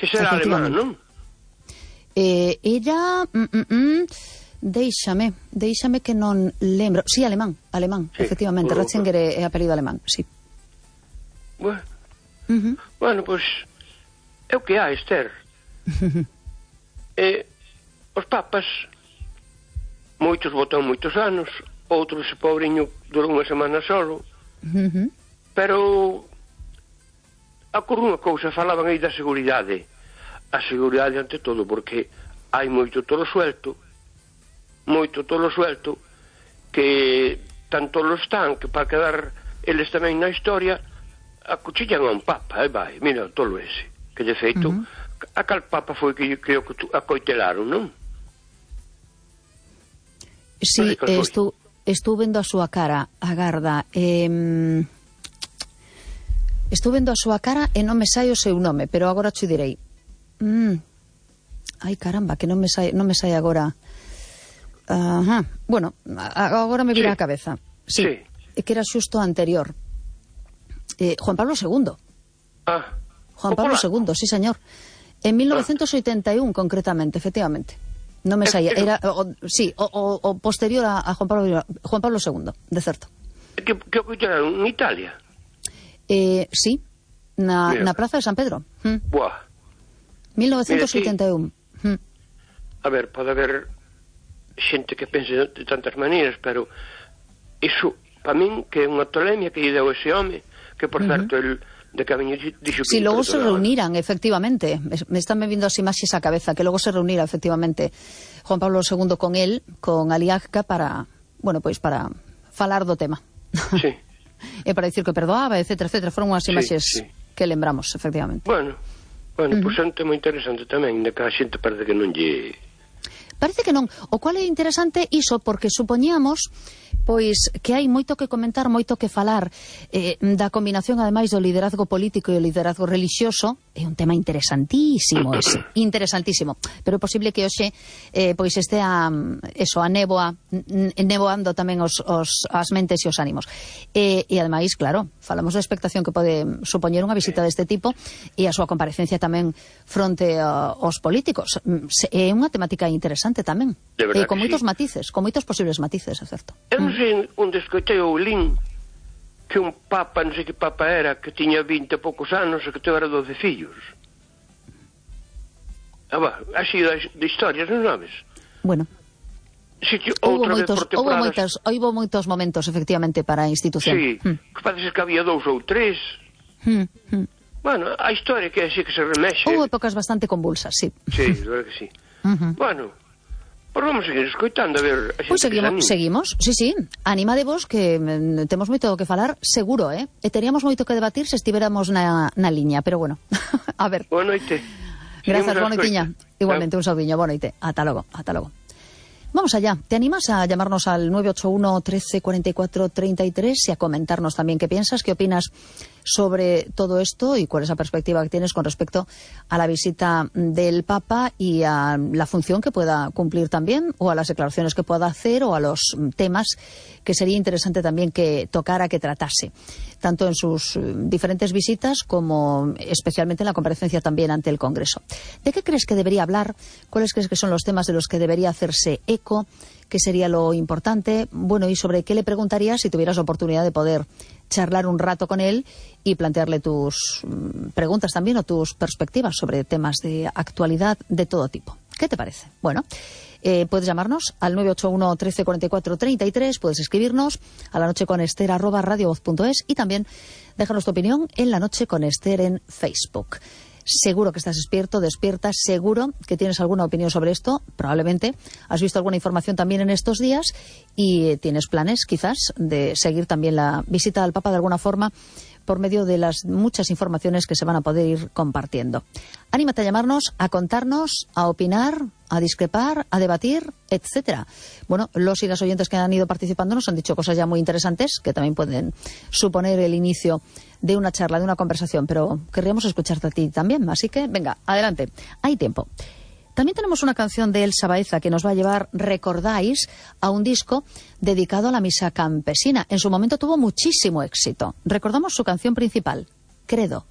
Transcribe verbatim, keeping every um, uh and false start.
Que será alemán, non? Eh, era... Mm, mm, mm, deixame, deixame que non lembro. Sí, alemán, alemán, sí, efectivamente. Ratzinger é apelido alemán, sí. Bueno, uh -huh. bueno, pois é o que há, Esther. E os papas, moitos botan moitos anos, outros, ese pobriño, durou unha semana solo. Uh -huh. Pero ocorre unha cousa, falaban aí da seguridade. A seguridade ante todo, porque hai moito tolo suelto, moito tolo suelto, que tanto lo están, que para quedar eles tamén na historia, acuchillan a un papa, e vai, mira o tolo ese, que de feito, uh -huh. a cal papa foi que creo que acoitelaron, non? Sí, estou, estou vendo a súa cara, agarda, eh... estou vendo a súa cara e non me sai o seu nome, pero agora te direi. Mm. Ai, caramba, que non me sai, non me sai agora. Ajá. Bueno, agora me vira sí. a cabeza. Sí, sí. Que era xusto anterior. Eh, Juan Pablo segundo. Ah. Juan Pablo segundo, sí, señor. En mil novecientos oitenta y uno, ah. concretamente, efectivamente. Non me saía. Era, o, sí, o, o, o posterior a, a Juan Pablo Juan Pablo segundo, de certo. Que, que ocultaron en Italia? Eh, sí, na, na Praza de San Pedro. Mm. Buah. mil novecientos oitenta y uno. Mira, sí. A ver, pode haber xente que pense de tantas maneiras, pero iso, para min, que é unha tolemia que lle deu ese home, que por uh -huh. certo, el de camiño dixo que... Si, logo se reuniran, efectivamente, me están me vindo así imaxes a cabeza, que logo se reunira, efectivamente, Juan Pablo segundo con él, con Aliaga, para, bueno, pois, para falar do tema. Sí. E para dicir que perdoaba, etcétera, etcétera, foron unhas imaxes sí, sí. que lembramos, efectivamente. Bueno... Bueno, uh -huh. pois é un tema interesante tamén, de que a xente parece que non lle... Parece que non. O cual é interesante iso, porque supoñíamos pois que hai moito que comentar, moito que falar eh, da combinación, ademais, do liderazgo político e o liderazgo religioso. É un tema interesantísimo ese, interesantísimo. Pero é posible que hoxe eh, pois estea eso, a néboa, neboando tamén os, os, as mentes e os ánimos. E, e ademais, claro, falamos da expectación que pode supoñer unha visita deste tipo e a súa comparecencia tamén fronte a, aos políticos. É unha temática interesante tamén. Eh, con moitos sí. matices, con moitos posibles matices, é certo. Eu non sei onde escoitei o lin que un papa, non sei que papa era, que tiña vinte e poucos anos e que tevera doce fillos. Ah, va, así de historias, non sabes? Bueno. Si, que houve outra moitos, vez por temporadas... houve moitos, houve moitos momentos, efectivamente, para a institución. Sí, hmm. que parece que había dous ou tres. Hmm, hmm. Bueno, a historia que é así que se remexe. Houve épocas bastante convulsas, sí. Sí, de verdade que sí. Uh -huh. Bueno... Pois vamos seguir escoitando, a ver... Pois pues seguimos, seguimos, sí, sí. Animadevos, que mm, temos moito que falar, seguro, eh? E teríamos moito que debatir se estivéramos na, na liña, pero bueno, a ver. Boa noite. Grazas, boa noitiña. Igualmente, un saudiño, boa noite. Ata logo, ata logo. Vamos allá. ¿Te animas a llamarnos al nueve ocho uno, trece, cuarenta y cuatro, treinta y tres y a comentarnos también qué piensas, qué opinas sobre todo esto y cuál es la perspectiva que tienes con respecto a la visita del Papa y a la función que pueda cumplir también, o a las declaraciones que pueda hacer, o a los temas que sería interesante también que tocara, que tratase, tanto en sus diferentes visitas como especialmente en la comparecencia también ante el Congreso? ¿De qué crees que debería hablar? ¿Cuáles crees que son los temas de los que debería hacerse eco? ¿Qué sería lo importante? Bueno, y sobre qué le preguntarías si tuvieras oportunidad de poder charlar un rato con él y plantearle tus preguntas también o tus perspectivas sobre temas de actualidad de todo tipo. ¿Qué te parece? Bueno, eh, puedes llamarnos al nueve ocho uno, trece, cuarenta y cuatro, treinta y tres, puedes escribirnos a la noche con Esther arroba radiovoz punto es y también déjanos tu opinión en La Noche con Esther en Facebook. Seguro que estás despierto, despierta, seguro que tienes alguna opinión sobre esto, probablemente has visto alguna información también en estos días y tienes planes quizás de seguir también la visita al Papa de alguna forma por medio de las muchas informaciones que se van a poder ir compartiendo. Anímate a llamarnos, a contarnos, a opinar, a discrepar, a debatir, etcétera. Bueno, los y las oyentes que han ido participando nos han dicho cosas ya muy interesantes que también pueden suponer el inicio de una charla, de una conversación, pero querríamos escucharte a ti también, así que venga, adelante, hay tiempo. También tenemos una canción de Elsa Baeza que nos va a llevar, recordáis, a un disco dedicado a la misa campesina. En su momento tuvo muchísimo éxito. Recordamos su canción principal, Credo.